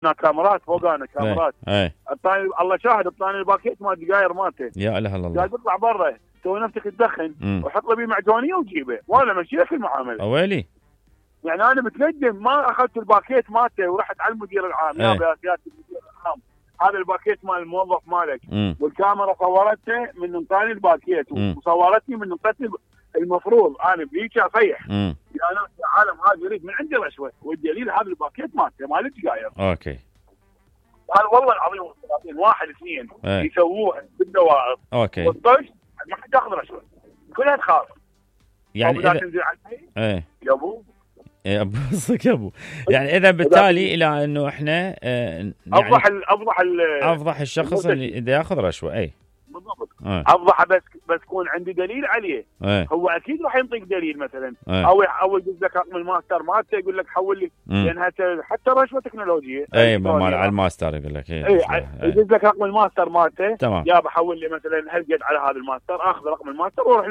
كاميرات فوقانا كاميرات. اي اعطاني الله شاهد، اعطاني الباكيت مال الدقاير مالته. يا اله الا الله. قال بيطلع برا سوي نفسك تدخن وحط له بيه معجونيه وجيبه، وانا ماشي لك المعامله. اويلي يعني انا متندم ما اخذت الباكيت مالته ورحت على المدير العام. يا سياده المدير العام، هذا الباكيت مال الموظف مالك، والكاميرا صورته من انطاني الباكيت وصورتني من انطتني. المفروض انا بهيك اصيح يا ناس يا عالم، هذا يريد من عندي رشوه، والدليل هذا الباكيت مالته مال الدقاير. اوكي. قال والله العظيم واحد اثنين يسووها بالدوائر. اوكي. والطش ما حد ياخذ رشوه، كلها تخاف. يعني اذا تنزل علي يا ابو ابوصك يا ابو. يعني اذا بالتالي الى انه احنا يعني افضح الشخص اللي اذا ياخذ رشوه. اي بالضبط. افضحه بس يكون عندي دليل عليه. هو اكيد راح ينطيك دليل مثلا او يدز لك رقم الماستر مالته يقول لك حول لي، لان حتى رشوه تكنولوجيه. اي مال على الماستر يقول لك. يدز لك رقم الماستر مالته، يا بحول لي مثلا هالقد على هذا الماستر، اخذ رقم الماستر واروح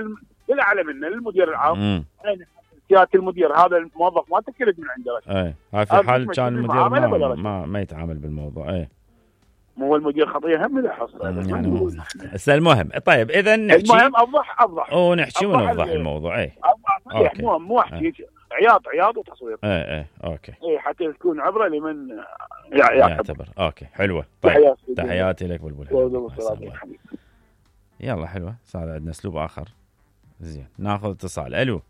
للاعلى منه للمدير العام. سياده المدير هذا الموظف ما تكلت من عنده رشوه. هاي في حال كان المدير ما يتعامل بالموضوع. مو المدير خطيه هم له حصه يعني. المهم طيب اذا نحكي، المهم افضح ونحكي ونوضح الموضوع. افضح مو احكي عياط وتصوير. اوكي. حتى تكون عبره لمن يعتبر. اوكي حلوه. طيب تحياتي لك بلبل. يلا حلوه. صار عندنا اسلوب اخر. زين ناخذ اتصال.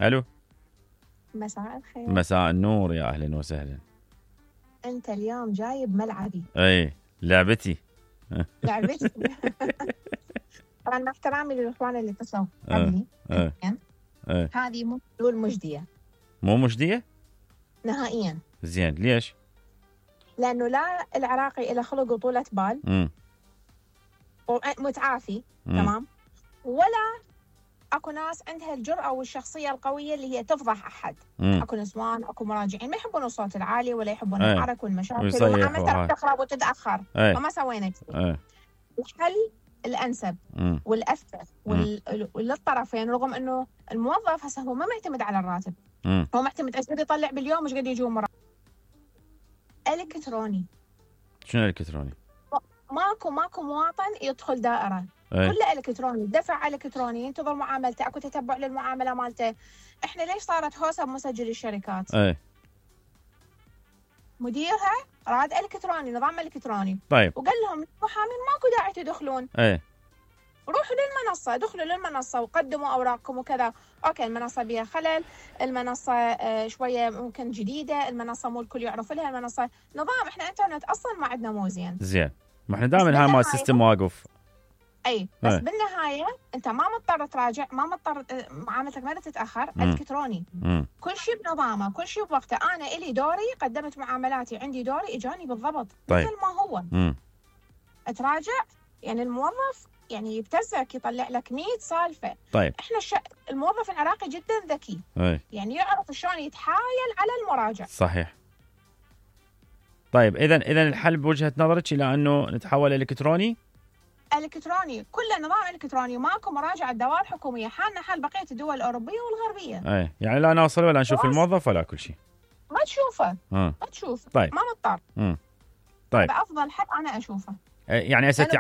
الو. مساء الخير. مساء النور، يا اهلا وسهلا. انت اليوم جايب ملعبي. لعبتي. طبعا مع احترامي للاخوان اللي اتصلوا قبلي، هذه مو حلول مجديه. مو مجديه نهائيا. زين ليش؟ لانه لا العراقي له خلق وطولة بال ومتعافي تمام، ولا اكو ناس عندها الجرأة والشخصية القوية اللي هي تفضح احد. اكو نسوان، اكو مراجعين ما يحبون الصوت العالي ولا يحبون الحرك والمشاكل ومعاملتها تخرب وتتاخر. فما سوينا كذي. الحل الانسب والافضل وللطرفين، رغم انه الموظف هسه هو ما معتمد على الراتب، هو معتمد ايش قد يطلع باليوم، ايش قد يجون مرة. الكتروني. شنو الكتروني؟ ماكو مواطن يدخل دائرة، كله الكتروني، دفع الكتروني، ينتظر معاملته، اكو تتبع للمعامله مالته. احنا ليش صارت هوسه بمسجل الشركات؟ مديرها راد الكتروني، نظام الكتروني. طيب. وقال لهم المحامين ماكو داعي تدخلون. روحوا للمنصه، ادخلوا للمنصه وقدموا اوراقكم وكذا. اوكي المنصه بها خلل، المنصه شويه ممكن جديده، المنصه مو الكل يعرف لها، المنصه نظام احنا انترنت اصلا ما عندنا مو زين. ما احنا دائما هاي ما السيستم واقف. بس بالنهايه انت ما مضطر تراجع، ما مضطر معاملتك ما تتاخر. الكتروني كل شيء بنظامه، كل شيء بوقته. انا الي دوري، قدمت معاملاتي، عندي دوري اجاني بالضبط. طيب. مثل ما هو. تراجع يعني الموظف يعني يبتزك، يطلع لك 100 سالفه. طيب. احنا الموظف العراقي جدا ذكي. يعني يعرف شلون يتحايل على المراجع. صحيح. طيب اذا الحل بوجهه نظرك الى انه نتحول الكتروني؟ الكتروني، كله نظام الكتروني، ماكو مراجعه دوائر حكوميه. حالنا حال بقيه الدول الاوروبيه والغربيه. يعني لا نوصل ولا نشوف الموظف ولا كل شيء. ما تشوفه. ما تشوفه. طيب. ما مضطر. طيب. افضل حل انا اشوفه. يعني اساتي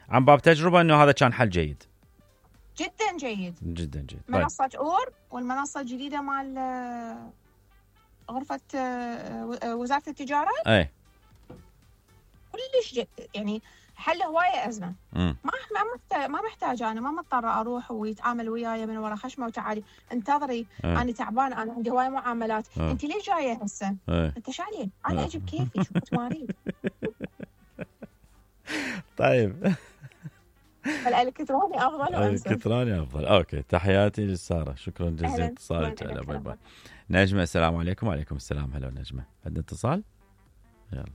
عن باب تجربه انه هذا كان حل جيد. جدا جيد. جدا جيد. منصه اور والمنصه الجديده مال غرفه وزاره التجاره. كلش يعني حل هواية أزمة. ما محتاج، أنا ما مضطرة أروح ويتعامل وياي من وراء خشمة وتعالي انتظري. أنا تعبان، أنا عندي هواية معاملات. أنت ليش جاية هسه؟ أنت شعلين أنا أجيب كيفي، شو تمارين. طيب. الإلكتروني أفضل وأنسب. الإلكتروني أفضل. أوكي تحياتي لسارة، شكرا جزيلا اتصالك. باي باي. نجمة السلام عليكم. وعليكم السلام. هلا نجمة، عندنا اتصال؟ يلا.